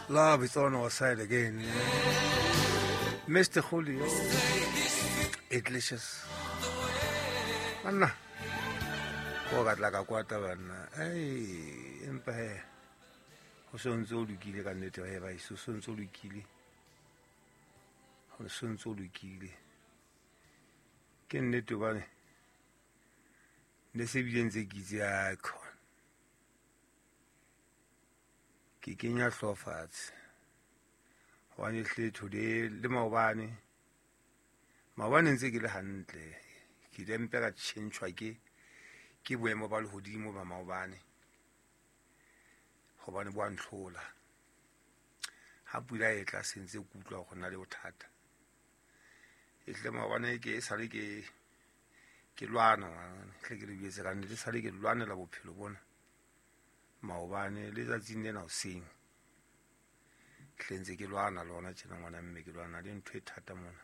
Love is on our side again. Mr. Julio Iglesias. Banna, ko ka tla ka kwata banna. Ei, empa he ho se ntse o lokile ka nnete he ba iso se ntse o lokile. Ho se ntse o lokile. Ke nnete hobane ne se bile ntse ke itse a khona. Ke kenya hlooho fatshe. Hobane hle today le maobane, maobane ntse ke le hantle. Ke ile mpe ka tjhentjhwa ke boemo ba lehodimo ba maobane. Hobane bo a ntlhola. Ha pula e tla se ntse ke utlwa hore na le bothata. E hle maobane ke e sale ke lwana, hle ke le jwetse ka nnete, sale ke lwanela bophelo bona. Maobane le tsatsing lena hoseng. Hle ntse ke lwana le hona tjena ngwana mme ke lwana le ntho e thata mona.